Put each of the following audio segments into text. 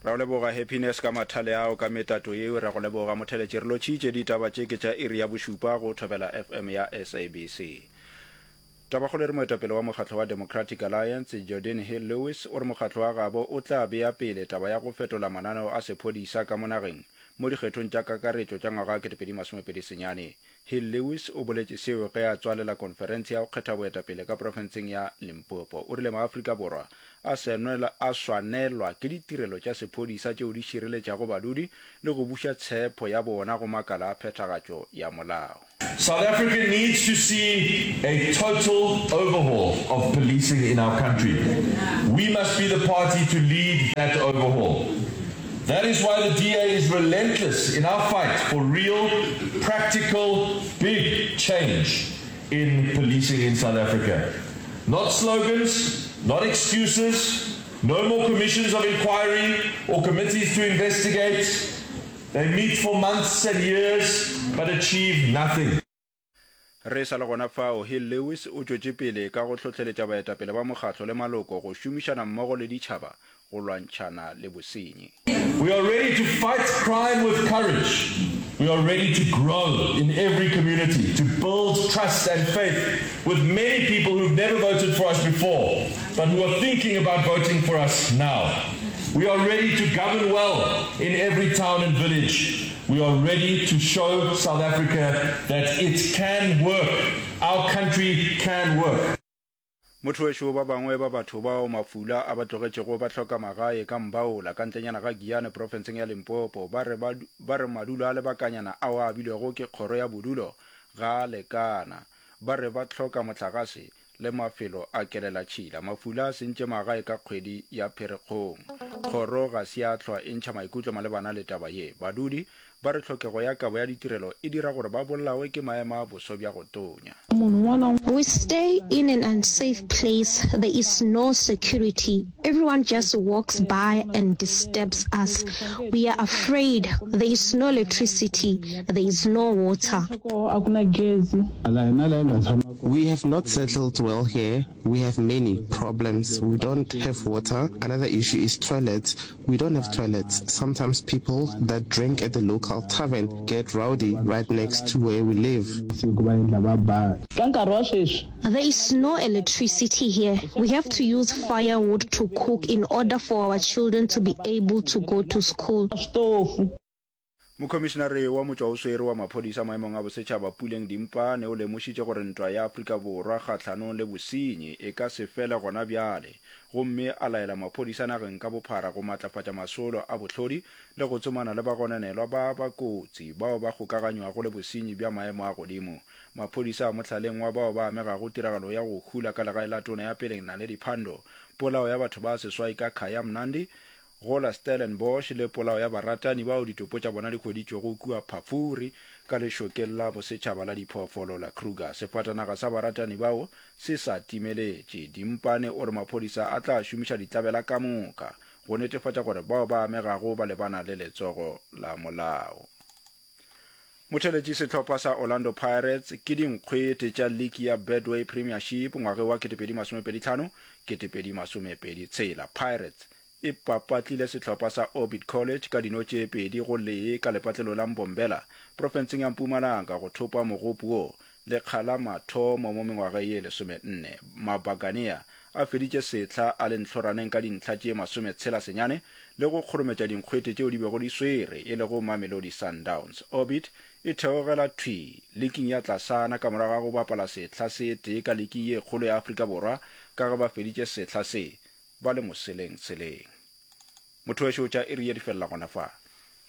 Ra go leboga Happiness ka mathale ao ka metato yeo. Ra go leboga Motheletši. Re lotšhitše ditaba tše ke tša iri ya bošupa go Thobela FM ya SABC. Tabakgolo e re moetapele wa mokgatlo wa Democratic Alliance, Geordin Hill-Lewis, o re mokgatlo wa gabo o tla bea pele taba ya go fetola mananeo a sephodisa ka mo nageng mo dikgethong tša kakaretšo tša ngwaga wa 2029. Hill-Lewis o boletše seo ge a tswalela konferense ya go kgetha boetapele ka profenseng ya Limpopo. O rile maAfrika Borwa a a swanelwa ke ditirelo tša sephodisa tšeo di šireletšago badudi le go buša tshepho ya bona go makala a phethagatšo ya molao. South Africa needs to see a total overhaul of policing in our country. We must be the party to lead that overhaul. That is why the DA is relentless in our fight for real, practical, big change in policing in South Africa. Not slogans, not excuses, no more commissions of inquiry or committees to investigate. They meet for months and years but achieve nothing. Re sa le gona fao, Hill Lewis o tšwetše pele ka go hlohleletša baetapele ba mokgatlo le maloko go šomišana mmogo le ditšhaba go lwantšhana le bosenyi. We are ready to fight crime with courage. We are ready to grow in every community, to build trust and faith with many people who've never voted for us before, but who are thinking about voting for us now. We are ready to govern well in every town and village. We are ready to show South Africa that it can work. Our country can work. Motho wešo ba bangwe ba batho bao mafula a ba tlogetšego ba hloka magae ka Mbaola ka ntlenyana ga Giyane profenseng ya Limpopo ba re ba re madulo a lebakanyana ao a abilwego ke kgoro ya bodulo ga a lekana. Ba re ba hloka mohlagase le mafelo a kelelatšhila. Mafula a sentše magae ka kgwedi ya Pherekgong. Kgoro ga se ya hlwa e ntšha maikutlo malebana le taba ye. Badudi ba re tlhokego ya kabo ya ditirelo e dira gore ba bolawe ke maemo a boso bja go tonya. We stay in an unsafe place, there is no security, everyone just walks by and disturbs us, we are afraid, there is no electricity, there is no water. We have not settled well here, we have many problems, we don't have water, another issue is toilets, we don't have toilets, sometimes people that drink at the local tavern get rowdy right next to where we live. There is no electricity here, we have to use firewood to cook in order for our children to be able to go to school. Mokhomišinare wa motšwaoswere wa maphodisa maemong a bosetšhaba Puleng Dimpane o lemošitše gore ntwa ya Afrika Borwa kgahlanong le bosenyi e ka se fele gona bjale gomme a laela maphodisa nageng ka bophara go matlafatša masolo a bohlodi le go tsomana le bagononelwa ba ba kotsi bao ba kgokaganywago le bosenyi bja maemo a godimo. Maphodisa a mohlaleng wa bao ba amegago tiragalo ya go hula ka legae la tona ya peleng Naledi Pandor, polao ya batho ba seswai ka Khaya Mnandi, Go la Stellenbosch le polao ya baratani bao ditopo tša bona di hweditšwego kua Phafuri ka lešokeng la bosetšhaba la diphoofolo la Kruger. Sefatanaga sa baratani bao se sa timeletše. Dimpane o re maphodisa a tla šomiša ditlabela ka moka go netefatša gore bao ba amegago ba lebana le letsogo la molao. Motheeletši Sehlopha sa Orlando Pirates ke dinkgwete tša liki ya Betway Premiership ngwageng wa 2025, 2026. Pirates e papatlile sehlopha sa Orbit College ka dino tše 2 go lee ka lepatlelo la Mbombela profenseng ya Mpumalanga go thopa mogopo wo lekga la mathomo mo mengwageng ye 14. Mabaganea a feditše sehla a le ntlhoraneng ka dintlha tše masometshela senyane le go kgorometša dinkgwete tšeo di bego di swere, e lego Mamelodi Sundowns. Orbit e theogela thwii liking ya tlasana ka morago ga go bapala sehla se tee ka liking ye kgolo ya Afrika Borwa ka ge ba feditše sehla se ba le moseleng-seleng. Motho wešo tša iri ye di felela gona fa.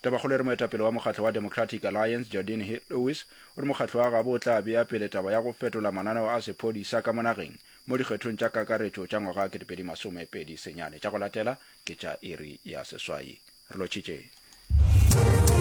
Tabakgolo e re moetapele wa mokgatlo wa Democratic Alliance, Geordin Hill-Lewis, o re mokgatlo wa gabo o tla bea pele taba ya go fetola mananeo a sephodisa ka mo nageng mo dikgethong tša kakaretšo tša ngwaga 2029. Tša go latela ke tša iri ya seswai. Re lotšhitše.